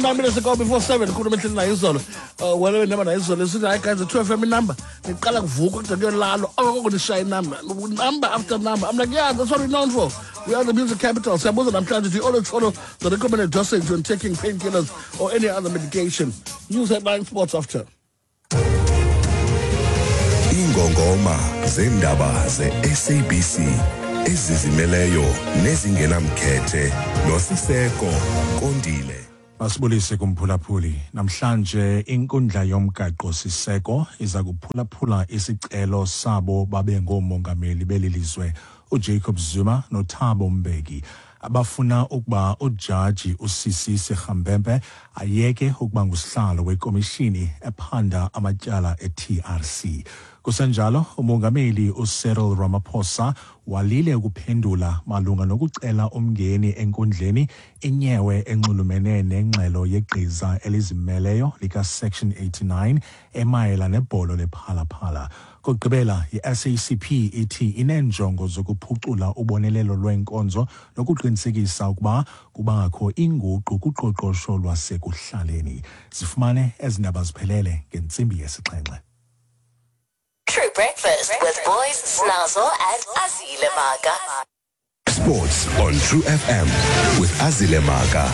9 minutes ago before 7. Khuluma ehleli nayo izolo, wena wendaba nayo izolo, esithi hayi guys, 2 FM inumber niqala kuvuka kude kuyolalwa, okoko nishaya inumber, number after number. I'm like, yeah, that's what we're known for. We are the music capital. Siyabuza namhlanje, do you always follow the recommended dosage when taking painkillers or any other medication? News headline, sports after. Ingongoma zendaba ze-SABC ezizimeleyo nezingenamkhethe noSiseko Kondile. Masibulise kumphulaphuli. Namhlanje inkundla yomgaqo siseko iza kuphulaphula isicelo sabo babe ngoomongameli beli lizwe uJacob Zuma noThabo Mbeki, abafuna ukuba ujaji uSisi Sirhambempe ayeke ukuba ngusihlalo wekomishini ephanda amatyala e-TRC. Kusenjalo, umongameli uCyril Ramaphosa walile ukuphendula malunga nokucela umngeni enkundleni inyewe enxulumene nengxelo yegqiza elizimeleyo lika-Section 89 emayela nebholo lePhala Phala. Kokugqibela, i-SACP ithi ineenjongo zokuphucula ubonelelo lweenkonzo nokuqinisekisa ukuba kubakho inguqu kuqoqosho lwasekuhlaleni. Zifumane ezi ndaba ziphelele ngentsimbi yesixhenxe. True Breakfast with Boys, Snazzle, and Azile Maga. Sports on True FM with Azile Maga.